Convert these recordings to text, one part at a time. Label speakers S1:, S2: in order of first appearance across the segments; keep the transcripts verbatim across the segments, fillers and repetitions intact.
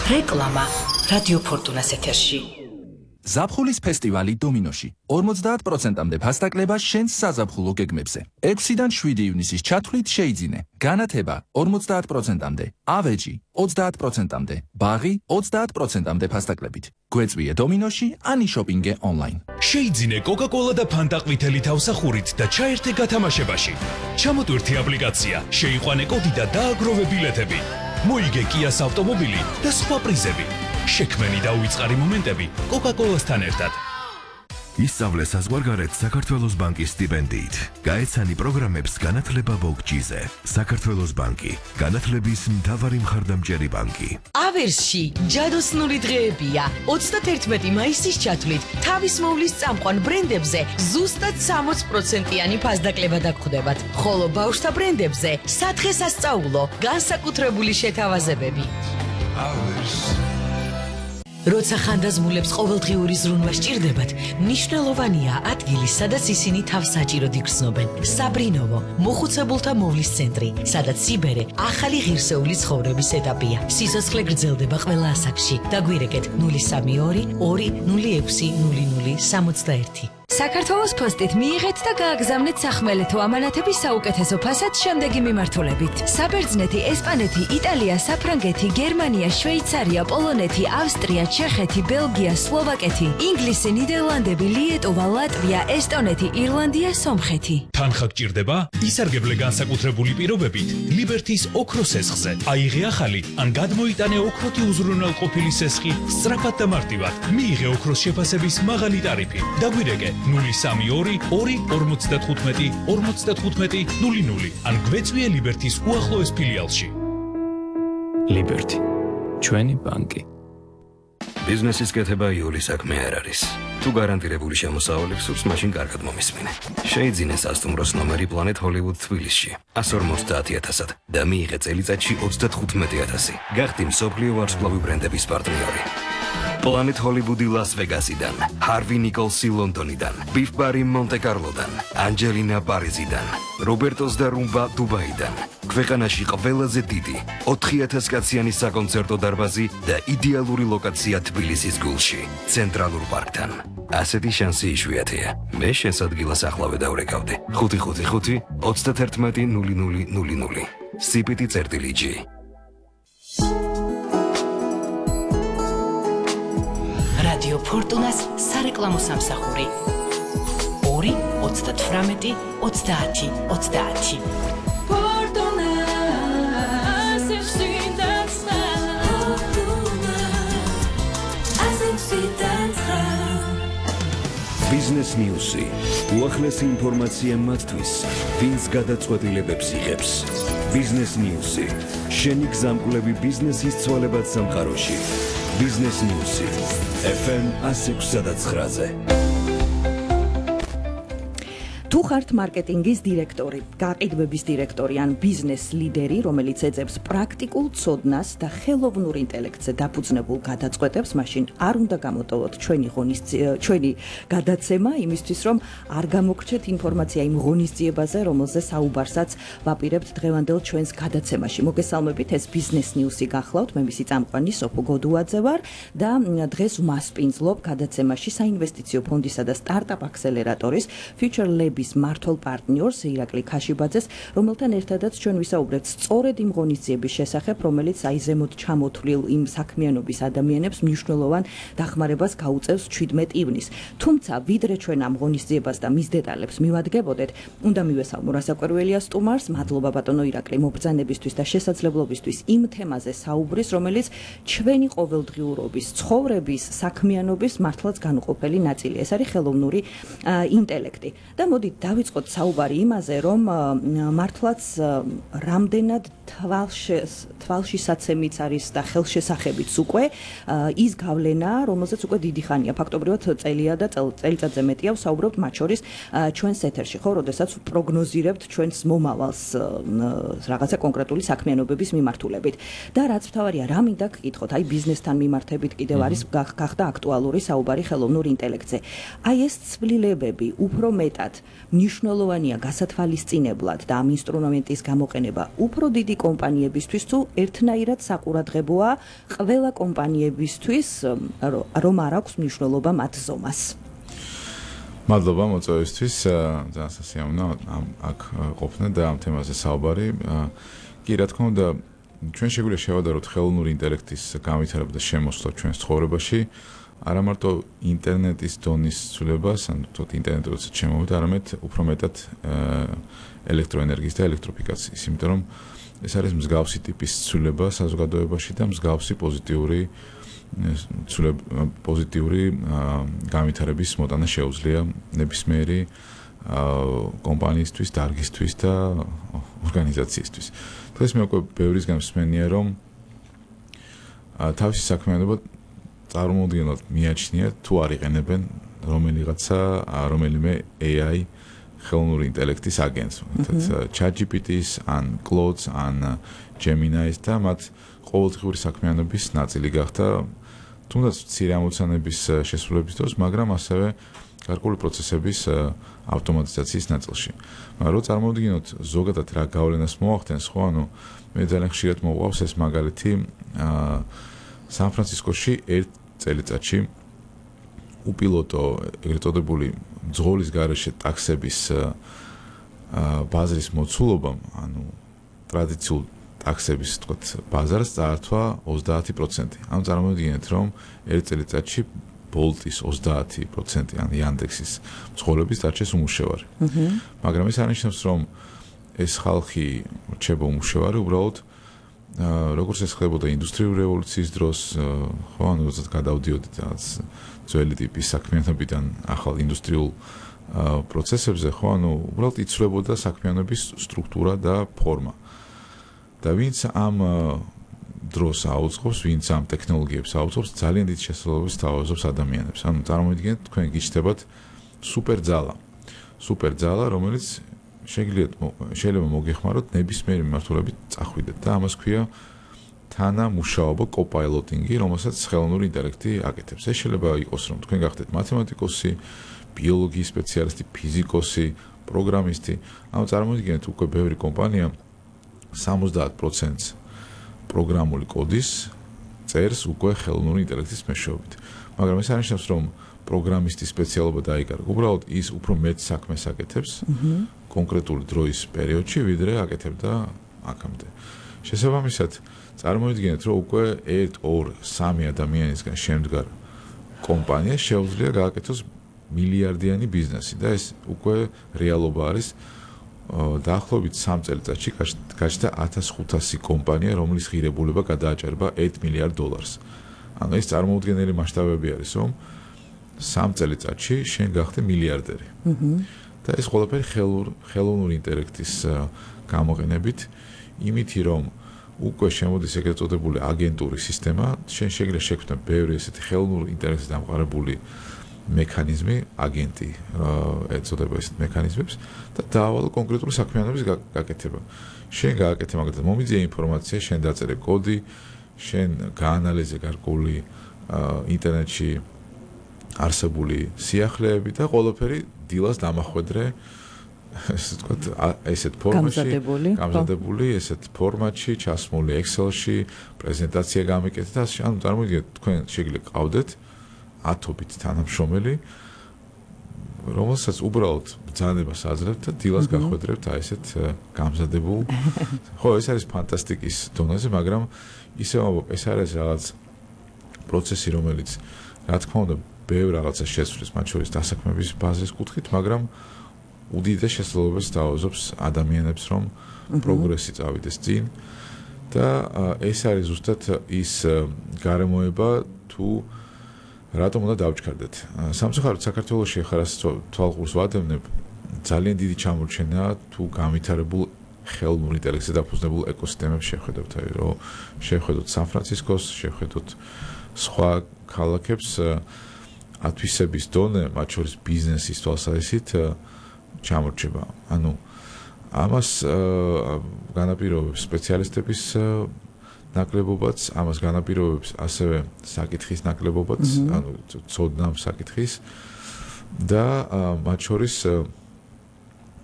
S1: რეკლამა რადიო ფორტუნას ეთერში.
S2: ზაფხულის ფესტივალი დომინოში ორმოცდაათ პროცენტამდე ფასდაკლება შენს საზაფხულო გეგმებზე. ექვსიდან შვიდი ივნისის ჩათვლით შეიძინე. განათება ორმოცდაათ პროცენტამდე, ავეჯი ოცდაათ პროცენტამდე, ბაღი ოცდაათ პროცენტამდე ფასდაკლებით. გვეწვიე დომინოში, ანი შოპინგე ონლაინ.
S3: შეიძინე კოკა-კოლა და ფანტა ყვითელი თავსახურით და ჩაერთე გათამაშებაში. ჩამოტვირთი აპლიკაცია, შეიყვანე კოდი და დააგროვე ბილეთები. მოიგე კიას ავტომობილი და სხვა პრიზები. შექმენი და უიწყარი მომენტები კოკა-კოლასთან ერთად.
S4: ისწავლე საზღვარგარეთ საქართველოს ბანკის სტიპენდიით. გაეცანი პროგრამებს განათლება ბოგჯიზე. საქართველოს ბანკი, განათლების მთავარი მხარდამჭერი ბანკი.
S1: ავერსში ჯადოსნური დღეებია. ოცდათერთმეტი მაისის ჩათვლით თავის მოვლის წამყვან ბრენდებზე ზუსტად სამოც პროცენტიანი ფასდაკლება დაგხვდებათ. ხოლო ბავშვთა ბრენდებზე სათხე-სასწაულო, განსაკუთრებული შეთავაზებები. ავერსი როცა ხანდაზმულებს ყოველდღიური ზრუნვა სჭირდებათ, მნიშვნელოვანია ადგილი, სადაც ისინი თავს საჭიროდ იგრძნობენ. საბრინოვო, მოხუცებულთა მოვლის ცენტრი, სადაც სიბერე ახალი ღირსეული ცხოვრების ეტაპია. სიცოცხლე გრძელდება ყველა ასაკში. დაგვირეკეთ ნული სამი ორი ორი ნული ექვსი ნული ნული სამოცდაერთი.
S5: საქართველოს პოსტით მიიღეთ და გააგზავნეთ სახმელეთო ამანათების საუკეთესო ფასად შემდეგი მიმართულებით. საბერძნეთი, ესპანეთი, იტალია, საფრანგეთი, გერმანია, შვეიცარია, პოლონეთი, ავსტრია, ჩეხეთი, ბელგია, სლოვაკეთი, ინგლისი, ნიდერლანდები, ლიეტოვა, ლატვია, ესტონეთი, ირლანდია, სომხეთი.
S3: თანხა გჭირდება? ისარგებლე განსაკუთრებული პირობებით ლიბერთის ოქროს სესხზე. აიღე ახალი ან გადმოიტანე ოქროთი უზრუნველყოფილი სესხი სწრაფად და მარტივად. მიიღე ოქროს შეფასების მაღალი ტარიფი. დაგვირეკე ნული სამი ორი ორი ორმოცდათხუთმეტი ორმოცდათხუთმეტი ნული ნული ან გვეწვიე ლიბერთის უახლოეს ფილიალში.
S6: ლიბერთი, ჩვენი ბანკი.
S7: ბიზნესის კეთება იული საქმე არ არის. თუ გარანტირებული შემოსავალი გსურს, მაშინ კარგად მომისმინე. შეიძინე სასტუმროს ნომერი Planet Hollywood თბილისში ასი სულ ოცდაათი ათასად და მიიღე წელიწადში ოცდათხუთმეტი ათასი. გახდი მსოფლიო ვარსკვლავი ბრენდების პარტნიორი. Planet Hollywood Las Vegasიდან, Harvey Nicholsi ლონდონიდან, Beef Bar მონტე-კარლოდან, Angelina Parisიდან, Robertos და Rumba დუბაიდან. ქვეყანაში ყველაზე დიდი ოთხი ათას კაციანი საკონცერტო დარბაზი და იდეალური ლოკაცია თბილისის გულში, ცენტრალურ პარკთან. ასეთი შანსი იშვიათია. მე შენს ადგილას ახლავე დავრეკავდი. ხუთი ხუთი ხუთი ოცდათერთმეტი ნული ნული ნული ნული. სიპიტი წერტილი ჯი.
S1: რადიო ფორტუნას სარეკლამო სამსახური ორი ოცდათვრამეტი ოცდაათი ოცდაათი.
S4: ბიზნეს ნიუსი. უახლესი ინფორმაცია მათთვის, ვინც გადაწყვეტილებებს იღებს. ბიზნეს ნიუსი. შენი გზამკვლევი ბიზნესის ცვალებად სამყაროში. ბიზნეს ნიუსი. ეფ ემ ასი ექვსი და ცხრაზე.
S8: თუ ხართ მარკეტინგის დირექტორი, გაყიდვების დირექტორი ან ბიზნეს ლიდერი, რომელიც ეძებს პრაქტიკულ ცოდნას და ხელოვნურ ინტელექტზე დაფუძნებულ გადაწყვეტებს, მაშინ არ უნდა გამოტოვოთ ჩვენი ღონისძიება, ჩვენი გადაცემა იმისთვის, რომ არ გამოგრჩეთ ინფორმაცია იმ ღონისძიებაზე, რომელზე საუბარსაც ვაპირებთ დღევანდელ ჩვენს გადაცემაში. მოგესალმებით, ეს ბიზნეს ნიუსი გახლავთ, მე მისი წამყვანი სოფო გოდუაძე ვარ და დღეს ვმასპინძლობ გადაცემაში საინვესტიციო ფონდისა და სტარტაპ აქსელერატორის Future Lab მართლ პარტნიორს ირაკლი ქაშიბაძეს, რომელთან ერთადაც ჩვენ ვისაუბრებთ სწორედ იმ ღონისძიების შესახებ, რომელიც აი ზემოთ ჩამოთვლილ იმ საქმიანობის ადამიანებს მნიშვნელოვან დახმარებას გაუწევს ჩვიდმეტ ივნისს. თუმცა ვიდრე ჩვენ ამ ღონისძიებას და მის დეტალებს მივადგებოდეთ, უნდა მივესალმო რასაკვირველია სტუმარს, მადლობა ბატონო ირაკლი მობრძანებისთვის და შესაძლებლობისთვის იმ თემაზე საუბრის, რომელიც ჩვენი ყოველდღიურობის, ცხოვრების, საქმიანობის მართლაც განუყოფელი ნაწილია. ეს არის ხელოვნური ინტელექტი. და მოდი დავიწყოთ საუბარი იმაზე, რომ მართლაც რამდენად თვალშისაცემიც არის და ხელშესახებიც უკვე ის გავლენა, რომელზეც უკვე დიდი ხანია, ფაქტობრივად წელია და წელიწადზე მეტია ვსაუბრობთ მათ შორის ჩვენს ეთერში, ხო, როდესაც პროგნოზირებთ ჩვენს მომავალს რაღაცა კონკრეტული საქმიანობების მიმართულებით. და რაც მთავარია, რა მინდა გკითხოთ, აი ბიზნესთან მიმართებით კიდევ არის გახდა აქტუალური საუბარი ხელოვნურ ინტელექტზე. აი ეს ცვლილებები უფრო მეტად მნიშვნელოვანია გასათვალისწინებლად და ამ ინსტრუმენტის გამოყენება უფრო დიდი კომპანიებისთვის თუ ერთნაირად საყურადღებოა ყველა კომპანიებისთვის, რომ არ აქვს მნიშვნელობა მათ ზომას.
S9: მადლობა მოწვევისთვის, ძალიან სასიამოვნო ამ აქ ყოფნა და ამ თემაზე საუბარი. კი, რა თქმა უნდა, ჩვენ შეგვიძლია შევადაროთ ხელოვნური ინტელექტის განვითარება და შემოსვლა ჩვენს ცხოვრებაში, არა მარტო ინტერნეტის დონის ცვლილებას, ან თოთ ინტერნეტი როცა შემოვიდა, არამედ უფრო მეტად ელექტროენერგიის და ელექტროფიკაციის, იმიტომ რომ ეს არის მსგავსი ტიპის ცვლილება საზოგადოებაში და მსგავსი პოზიტიური პოზიტიური განვითარების მოტანა შეუძლია ნებისმიერი კომპანიისთვის, დარგისთვის და ორგანიზაციისთვის. დღეს მე უკვე ბევრისგან მსმენია, რომ თავისი საქმიანობა წარმოუდგენლად მიაჩნიათ თუ არ იყენებენ რომელიღაცა რომელიმე A I ხელოვნური ინტელექტის აგენტს, თუმცა ChatGPT-ს ან Claude-ს ან Gemini-ს და მათ ყოველდღიური საქმიანობის ნაწილი გახდა, თუნდაც მცირე ამოცანების შესრულების დროს, მაგრამ ასევე გარკვეული პროცესების ავტომატიზაციის ნაწილში. მაგრამ რო წარმოვიდგინოთ ზოგადად რა გავლენას მოახდენს, ხო, ანუ მე ძალიან ხშირად მოყვავს ეს მაგალითი სან-ფრანცისკოში ერთ წელიწადში უპილოტო ეგრეთ წოდებული ძღოლის გარეშე ტაქსების ბაზრის მოცულობამ, ანუ ტრადიციულ ტაქსების თქვათ ბაზარს წაართვა ოცდაათი პროცენტი. ანუ წარმოვიდგინეთ, რომ ერთ წელიწადში Bolt-ის ოცდაათი პროცენტი ან Yandex-ის მცხოვრების დარჩეს უმუშევარი. მაგრამ ეს არნიშნავს, რომ ეს ხალხი რჩება უმუშევარი, უბრალოდ როგორც ეს ხდებოდა ინდუსტრიული რევოლუციის დროს, ხო, ანუ როდესაც გადავდიოდით რაღაც ძველი ტიპის საქმიანობიდან ახალ ინდუსტრიულ პროცესებზე, ხო, ანუ უბრალოდ იცვლებოდა საქმიანობის სტრუქტურა და ფორმა. და ვინც ამ დროს აუწყობს, ვინც ამ ტექნოლოგიებს აუწყობს, ძალიან დიდ შესაძლებლობას თავაზობს ადამიანებს. ანუ წარმოვიდგინეთ, თქვენ გიჩნდებათ სუპერძალა. სუპერძალა, რომელიც შეგიძლიათ შეიძლება მოგეხმაროთ ნებისმიერი მიმართულებით წახვიდეთ და ამას ქვია თანამუშაობა, კოპაილოტინგი, რომელსაც ხელოვნური ინტელექტი აკეთებს. ეს შეიძლება იყოს, რომ თქვენ გახდეთ მათემატიკოსი, ბიოლოგიის სპეციალისტი, ფიზიკოსი, პროგრამისტი. ანუ წარმოვიდგინეთ, უკვე ბევრი კომპანია სამოცდაათ პროცენტს პროგრამული კოდის წერს უკვე ხელოვნური ინტელექტის მეშვეობით. მაგრამ ეს არნიშნავს, რომ პროგრამისტის სპეციალობა დაიკარგა. უბრალოდ ის უფრო მეტ საქმეს აკეთებს კონკრეტული დროის პერიოდში, ვიდრე აკეთებდა აქამდე. შესაბამისად, წარმოვიდგინეთ, რომ უკვე ერთ, ორ, სამი ადამიანისგან შემდგარ კომპანიას შეუძლია გააკეთოს მილიარდიანი ბიზნესი და ეს უკვე რეალობა არის. დაახლოებით სამ წელიწადში გაჩნდა ათას ხუთასი კომპანია, რომლის ღირებულება გადააჭარბა ერთ მილიარდ დოლარს. ანუ ეს წარმოუდგენელი მასშტაბები არის, რომ სამ წელიწადში შენ გახდე მილიარდერი. და ეს ყველაფერი ხელოვნური ინტელექტის გამოყენებით, იმითი რომ უკვე შემოდის ეგრეთ წოდებული აგენტური სისტემა, შენ შეგიძლია შექმნა ბევრი ესეთი ხელოვნური ინტელექტის დამყარებული მექანიზმი, აგენტი ეწოდება ესეთ მექანიზმებს და დაავალო კონკრეტული საქმიანობის გაკეთება. შენ გააკეთე მაგალითად მომიძიე ინფორმაცია, შენ დაწერე კოდი, შენ გაანალიზე გარკვეული ინტერნეტში არსებული სიახლეები და ყველაფერი დილას დამახვედრე ესე ვთქვათ ესეთ ფორმატში, გამზადებული ესეთ ფორმატში, ჩასმული Excel-ში, პრეზენტაცია გამიკეთეთ და ანუ წარმოვიდგინეთ, თქვენ შეგიძლიათ ყავდეთ ათობით თანამშრომელი, რომელსაც უბრალოდ ბრძანებას აძლევთ და დილას გახვედრებთ აი ესეთ გამზადებულ. ხო, ეს არის ფანტასტიკის დონეზე, მაგრამ ისევ ეს არის რაღაც პროცესი, რომელიც რა თქმა უნდა ბევრ რაღაცას შესრულებს, მათ შორის დასაქმების ბაზრის კუთხით, მაგრამ უდიდეს შესაძლებლობას თავაზობს ადამიანებს, რომ პროგრესი წავიდეს წინ და ეს არის ზუსტად ის გარემოება თუ რატომ უნდა დავჩქარდეთ. სამწუხაროდ საქართველოში ახლა თვალყურს ვადევნებ, ძალიან დიდი ჩამორჩენაა თუ განვითარებულ ხელოვნურ ინტელექტზე დაფუძნებულ ეკოსისტემებს შეხედოთ, აი რომ შეხედოთ სან-ფრანცისკოს, შეხედოთ სხვა ქალაქებს, ათვისების დონე, მათ შორის ბიზნესის თვალსაზრისით ჩამორჩება. ანუ ამას განაპირობებს სპეციალისტების ნაკლებობაც, ამას განაპირობებს ასევე საკითხის ნაკლებობაც, ანუ ცოდნა საკითხის და მათ შორის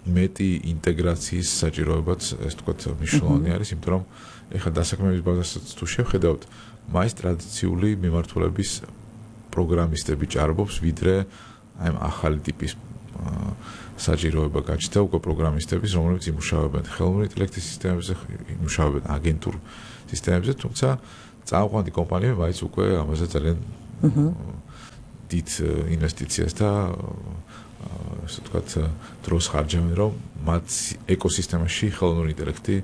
S9: მეტი ინტეგრაციის საჭიროებაც ეს თქვათ მნიშვნელოვანი არის, იმიტომ რომ ეხლა დასაქმების ბაზასაც თუ შევხედავთ, მაინც ტრადიციული მიმართულების პროგრამისტები ჭარბობს, ვიდრე აი ამ ახალი ტიპის საჭიროება გაჩნდა უკვე პროგრამისტების, რომლებიც იმუშავებენ ხელოვნური ინტელექტის სისტემებზე, იმუშავებენ აგენტურ სისტემებზე, თუმცა წამყვანი კომპანიები მაინც უკვე ამაზე ძალიან დიდ ინვესტიციას და ასე ვთქვათ, დროს ხარჯავენ, რომ მათ ეკოსისტემაში ხელოვნური ინტელექტი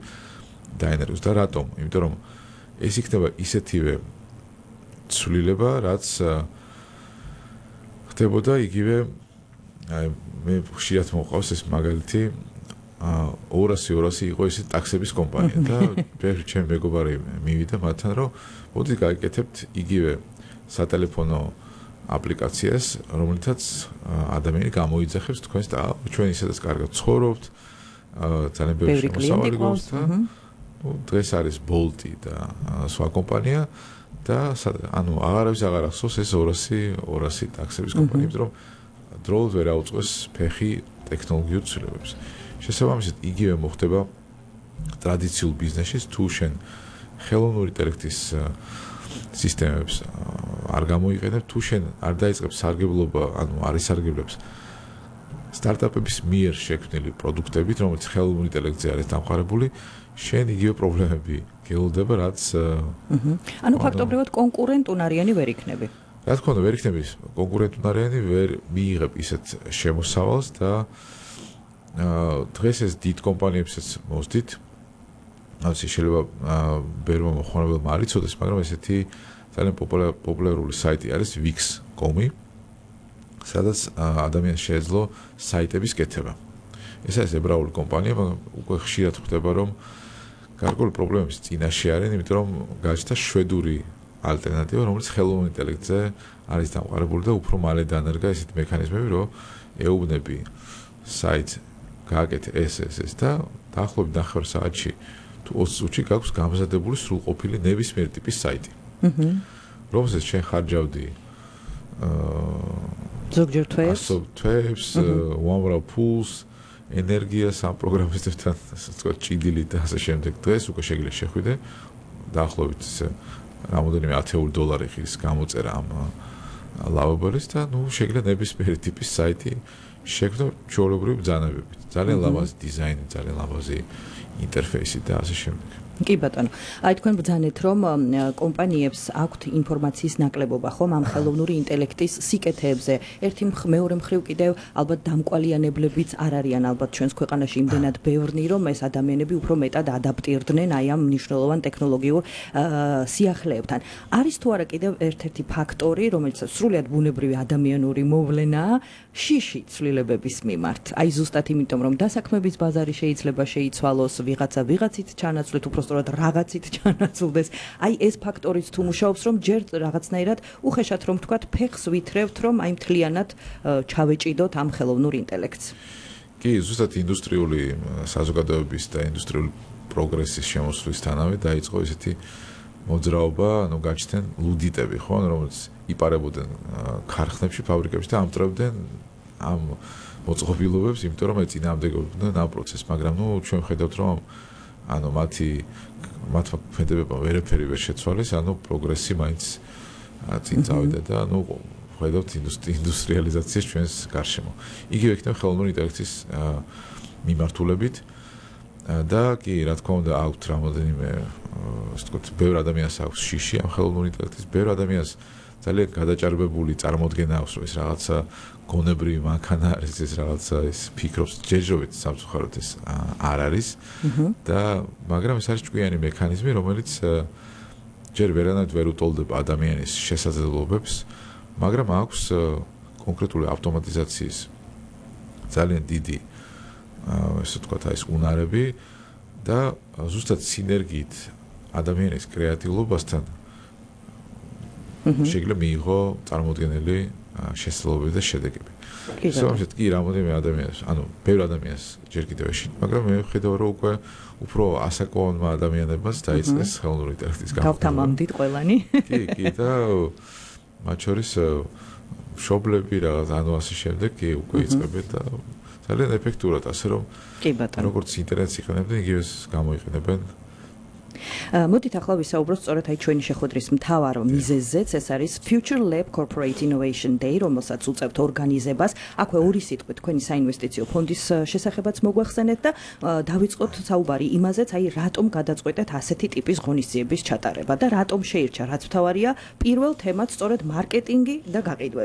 S9: დაენერგოს და რატომ? იმიტომ რომ ეს იქნება ისეთივე ცვლილება, რაც ხდებოდა იგივე აი მე ხშირად მოყავს ეს მაგალითი ორასი ორასი იყო ეს ტაქსების კომპანია და ბევრი ჩემი მეგობარი მივიდა მათთან რომ მოდი გაიკეთებთ იგივე სატელეფონო აპლიკაციას რომელთაც ადამიანი გამოიძახებს თქვენს და ჩვენ ისედაც კარგად ცხოვრობთ ძალიან ბევრი შემოსავალი გვაქვს და ნუ დღეს არის Bolt-ი და სხვა კომპანია და ანუ აღარავის აღარ ახსოვს ეს ორასი ორასი ტაქსების კომპანია იმიტომ რომ დროულად ვერ აუწყვეს ფეხი ტექნოლოგიურ ცვლილებებს. შესაბამისად, იგივე მოხდება ტრადიციულ ბიზნესში, თუ შენ ხელოვნური ინტელექტის სისტემებს არ გამოიყენებ, თუ შენ არ დაიწყებ სარგებლობა, ანუ არ ისარგებლებს სტარტაპების მიერ შექმნილი პროდუქტებით, რომელიც ხელოვნურ ინტელექტზე არის დამყარებული, შენ იგივე პრობლემები გელოდება, რაც
S8: ანუ ფაქტობრივად კონკურენტუნარიანი ვერ იქნები.
S9: რა თქმა უნდა, ვერ იქნები კონკურენტუნარიანი, ვერ მიიღებ ისეთ შემოსავალს და დღეს ეს დიდ კომპანიებსაც მოსდით. რაც შეიძლება ბერმა მოხმარებელმა არ იცოდეს, მაგრამ ესეთი ძალიან პოპულარული საიტი არის wix τελεία com-ი, სადაც ადამიანს შეეძლო საიტების კეთება. ეს არის ებრაული კომპანია, მაგრამ უკვე ხშირად ხდება, რომ გარკვეული პრობლემების წინაშე არიან, იმიტომ რომ გაჩნდა შვედური ალტერნატივა, რომელიც ხელოვნურ ინტელექტზე არის დამყარებული და უფრო მალე დაანერგა ესეთი მექანიზმები, რომ ეუბნები საიტს გააკეთე ეს ეს ეს და დაახლოებით ნახევარ საათში თუ ოცი წუთში გაქვს გამზადებული სრულყოფილი ნებისმიერ ტიპის საიტი. აჰა. რომელსაც შენ ხარჯავდი აა
S8: ზოგჯერ თვეებს,
S9: თვეებს, უამრავ ფულს, ენერგიას ამ პროგრამისტებთან, ასე ვთქვათ, ჭიდილი და ასე შემდეგ. დღეს უკვე შეგიძლია შეხვიდე დაახლოებით რამოდენიმე ათეული დოლარი ხის გამოწერა ამ ლავაბორის და ნუ შეგიძლია ნებისმიერი ტიპის საიტი შექმნა ჩვეულებრივი ბრძანებებით. ძალიან ლამაზი დიზაინი, ძალიან ლამაზი ინტერფეისი და ასე შემდეგ.
S8: კი ბატონო, აი თქვენ ბრძანეთ, რომ კომპანიებს აქვთ ინფორმაციის ნაკლებობა, ხომ ამ ხელოვნური ინტელექტის სიკეთეებზე. ერთი მეორე მხრივ კიდევ ალბათ დამკვალიანებლებიც არ არიან ალბათ ჩვენს ქვეყანაში იმდენად ბევრნი, რომ ეს ადამიანები უფრო მეტად ადაპტირდნენ აი ამ მნიშვნელოვან ტექნოლოგიურ სიახლეებთან. არის თუ არა კიდევ ერთ-ერთი ფაქტორი, რომელიც სრულიად ბუნებრივი ადამიანური მოვლენაა, შიში ცვლილებების მიმართ. აი ზუსტად იმიტომ, რომ დასაქმების ბაზარი შეიძლება შეიცვალოს, ვიღაცა ვიღაცით ჩანაცვლეთ, უბრალოდ რაღაცით ჩანაცვლდეს. აი ეს ფაქტორიც თუ მუშაობს, რომ ჯერ რაღაცნაირად უხეშად რომ თქვათ, ფეხს ვითრევთ, რომ აი მთლიანად ჩავეჭიდოთ ამ ხელოვნურ ინტელექტს.
S9: კი, ზუსტად ინდუსტრიული საზოგადოების და ინდუსტრიული პროგრესის შემოსვლისთანავე დაიწყო ესეთი მოძრაობა, ანუ გაჩნდნენ ლუდიტები, ხო, რომელიც იპარებოდნენ ქარხნებში, ფაბრიკებში და ამტვრევდნენ ამ მოწყობილობებს, იმიტომ რომ ეწინააღმდეგებოდნენ ამ პროცესს, მაგრამ ნუ ჩვენ ხედავთ, რომ ანუ მათი მათმა ფენდებებმა ვერაფერი ვერ შეცვალეს, ანუ პროგრესი მაინც წინ წავიდა და ნუ ხედავთ ინდუსტრიალიზაციას ჩვენს გარშემო. იგივე იქნება ხელოვნური ინტელექტის მიმართულებით და კი, რა თქმა უნდა, აქვთ რამოდენიმე, ასე ვთქვათ, ბევრ ადამიანს აქვს შიში ამ ხელოვნური ინტელექტის, ბევრ ადამიანს ძალიან გადაჭარბებული წარმოდგენა აქვს, რომ ეს რაღაცა გონებრივი მანქანა არის, ეს რაღაცა ის ფიქრობს, ჯერჯერობით სამწუხაროდ ეს არ არის და მაგრამ ეს არის ჭკვიანი მექანიზმი, რომელიც ჯერ ვერანაირად ვერ უტოლდება ადამიანის შესაძლებლობებს, მაგრამ აქვს კონკრეტული ავტომატიზაციის ძალიან დიდი ესე ვთქვათ, აი ეს უნარები და ზუსტად სინერგიით ადამიანის კრეატიულობასთან შეიძლება მიიღო წარმოუდგენელი შესაძლებლობები და შედეგები. შესაბამისად კი რამოდენიმე ადამიანს, ანუ ბევრ ადამიანს ჯერ კიდევ ეშინი, მაგრამ მე ვხედავ, რომ უკვე უფრო ასაკოვანმა ადამიანებმაც დაიწყეს ხელოვნური ინტელექტის გამოყენება.
S8: გავთამამდით ყველანი.
S9: კი, კი და მათ შორის მშობლები რაღაც ანუ ასე შემდეგ კი უკვე იწყებენ და ძალიან ეფექტურად, ასე რომ
S8: კი ბატონო.
S9: როგორც ინტერნეტს იყენებდნენ, იგივე გამოიყენებენ.
S8: მოდით ახლა ვისაუბროთ სწორედ აი ჩვენი შეხვედრის მთავარ მიზეზზეც, ეს არის Future Lab Corporate Innovation Day, რომელსაც უწევთ ორგანიზებას. აქვე ორი სიტყვით თქვენი საინვესტიციო ფონდის შესახებაც მოგვახსენეთ და დავიწყოთ საუბარი იმაზეც, აი რატომ გადაწყვეტეთ ასეთი ტიპის ღონისძიების ჩატარება და რატომ შეირჩა, რაც მთავარია, პირველ თემად სწორედ მარკეტინგი და გაყიდვები.